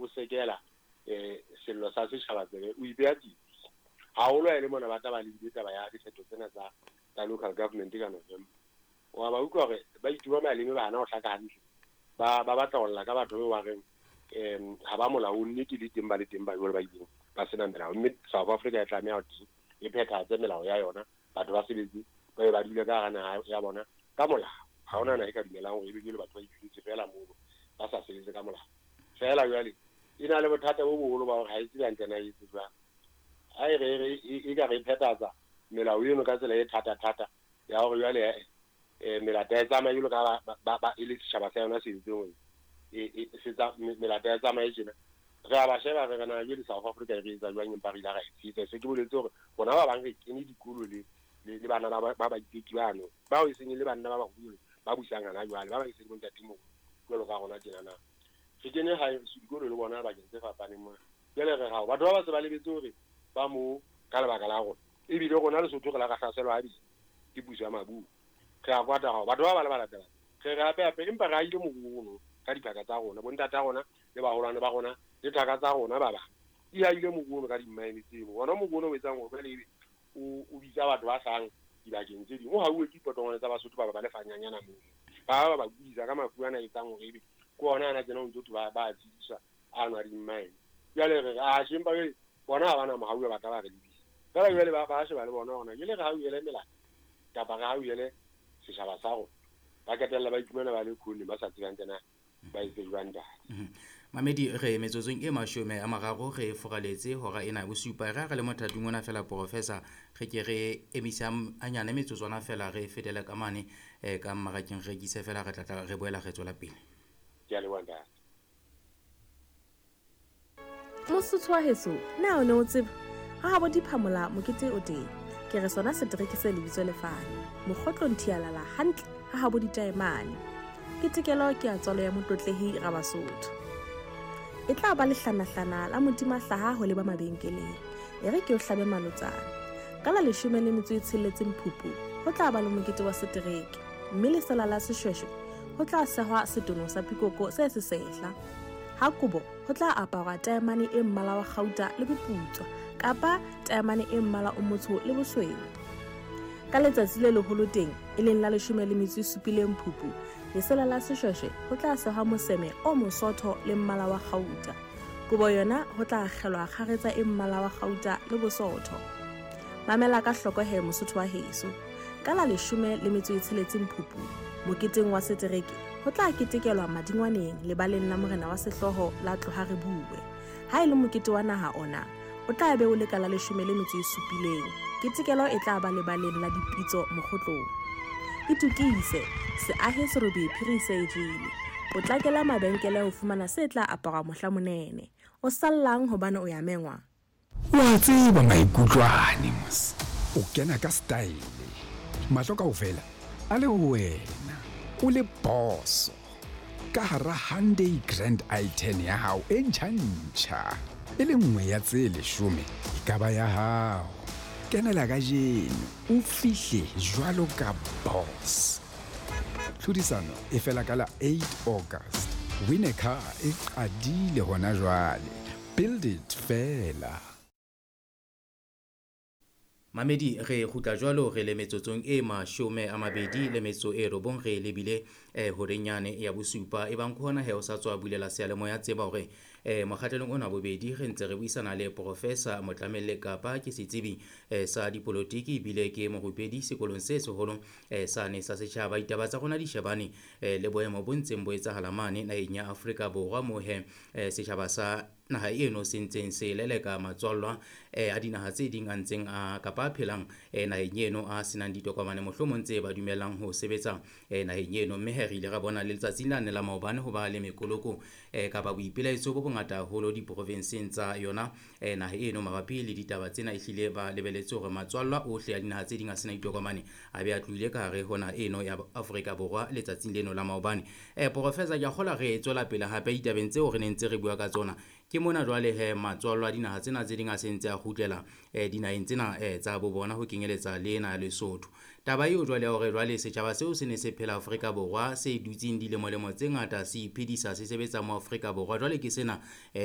o sekela sello sa setjhaba tsebe, o ipeha tsietsi. Haholo ha e le mona ba tla ba lebile taba ya dikgetho tsena tsa local government ka November. Wa ba utlwa hore ba ituba maleme, ba hana ho hlaka hantle. Ba batla ho lla ka batho ba reng ha ba molaong, nnete le teng ba le teng ba jwale ba ileng ba sena melao. Mme South Africa e tlameha ho teng e phethahatse melao ya yona, batho ba sebetse ba be ba dule ka hara naha ya bona ka molao. Ha hona naha e ka dumelang hore ebe jwale batho ba ituletse feela mono ba sa sebetse ka molao. Feela jwale e na le bothata bo boholo ba hore ha e tsebe hantle na e etse jwang. Ha e re e ka re e phethahatsa melao eno ka tsela e thata-thata ya hore jwale melata e tsamaye jwalo ka ba e le setjhaba sa yona se entseng hore melata e tsamaye tjena. Re a ba sheba re re na jwale South Africa e re etsa jwang, empa re ile ra e tshehetsa. Se ke boletse hore rona ba bang re kene dikolo le bana ba baiteki bano bao e seng e le banna ba baholo ba busang hana jwale, ba bang e se le bontatemoholo jwalo ka rona tjena na. Re kene hae dikolo le bona bakeng tse fapaneng mona. Jwale re hao batho ba ba se ba lebetse hore ba mo ka lebaka la rona, ebile rona Lesotho re la ra hlaselwa habedi ke puso ya maburu. Re a kwata hao batho ba ba le ba latelang re re hape hape, empa re ahile moruo ono ka diphaka tsa rona, bontata rona le baholwane ba rona le thaka tsa rona ba bang di ahile moruo ono ka dimmaene tseno. Ona moruo ono o etsang hore jwale ebe o bitsa batho ba hlahang dibakeng tse ding, o hauwe ke dipotongwane tsa Basotho ba ba lefanyanyana mono, ba ba kudisa ka mafu ana etsang hore ebe ke ona ana tjena o ntso thwe ba tshediswa ano a dimmaene. Jwale re re a shempa jwale bona ha bana mohau ba tla ba re lebisa. Feela jwale ba sheba le bona hore na jwale re hauhele melata kapa re hauhele setjhaba sa rona, ba qetella ba iphumana ba le khone ba sa tsebang tsena ba etse jwang ntate. Mamedi, re metsotsong e 30 re foraletse hora ena ya bosupa. Re ha re le mothating ona fela, Professor, re ke re emisa hanyane metsotswana fela, re fetele ka mane ka mmarakeng, re rekise fela, re tla re boela re tswela pele. Ke a leboha ntate. Mosotho wa heso, na o ne o tseba ha habo diphamola mokete o teng? Ke re sona setereke se lebitso lefane mokgotlong thialala hantle ha habo ditaemane. Ke tekelo ke ya tswalo ya motlotlehi Rabasotho. E tla ba lehlanahlana la modimahlaha ho leba mabenkeleng. E re ke o hlabe malotsana. Ka la 16 Phupu ho tla ba le mokete wa setereke, mme lesela la seshweshwe ho tla sehwa setono sa pikoko se sesehla. Ha kobo ho tla aparwa taemane e mmala wa kgauta le boputswa kapa taemane e mmala o motsho le bosweu. Ka letsatsi le leholo teng, e leng la 17 Phupu, lesela la seshweshwe ho tla sehwa moseme o mosotho le mmala wa kgauta. Kobo yona ho tla akgelwa kgaretsa e mmala wa kgauta le bosotho. Mamela ka hloko he Mosotho wa heso. Ka la 16 Phupu, moketeng wa setereke ho tla ketekelwa madingwaneng lebaleng la morena wa sehlooho la Tloha Re Bue. Ha e le mokete wa naha ona, o tla be o le ka la 17. Ketekelo e tla ba lebaleng la dipitso mokgotlong. Itukise, se ahe serobe phiri se e jele. Potlakela mabenkele ho fumana se tla aparwa mohla monene. O sallang hobane o ya mengwa. Wa tseba maikutlwane mos. O kena ka style. Mahlo kaofela a le ho wena. O le boso. Ka hara Hyundai Grand i10 ya hao e ntjha-ntjha. E le nngwe ya tse 10 e ka ba ya hao. Kenela kajeno o fihle jwalo ka boss. Tlhodisano e fela ka la 8 August. Win a car e qadile hona jwale. Build it fela. Mamedi, re kgutla jwalo re le metsotsong e 29 re lebile horeng yane ya bosupa. Ebang ke hona he o sa tswa bulela seyalemoya, tseba hore mokgahlelong ona bobedi re ntse re buisana le Professor Motlamelle Kapa, ke setsebi sa dipolotiki ebile ke morupedi sekolong se seholo sane sa setjhaba. Ditaba tsa rona di shebane le boemo bo ntseng bo etsahala mane naheng ya Afrika Borwa, moo he setjhaba sa naha eno se ntseng se leleka matswallwa a dinaha tse ding a ntseng a kapa a phelang naheng eno a senang ditokomane mohlomong tse ba dumellang ho sebetsa naheng eno. Mme he re ile ra bona le letsatsing lane la maobane ho ba le mekoloko kapa boipelaetso bo bongata haholo diprovinseng tsa yona naha eno mabapi le ditaba tsena. Ehlile ba lebeletse hore matswallwa ohle a dinaha tse ding a sena ditokomane a be a tlohile ka hare ho naha eno ya Afrika Borwa letsatsing leno la maobane. Professor, ke a kgolwa re tswela pele hape ditabeng tseo re neng ntse re bua ka tsona. Ke mona jwale he matswallo a dinaha tsena tse ding a se ntse a kgutlela dinaheng tsena tsa bo bona ho kenyeletsa le ena ya Lesotho. Taba eo jwale ya hore jwale setjhaba seo se ne se phela Afrika Borwa se dutseng dilemolemo tse ngata se iphedisa se sebetsa mo Afrika Borwa jwale ke sena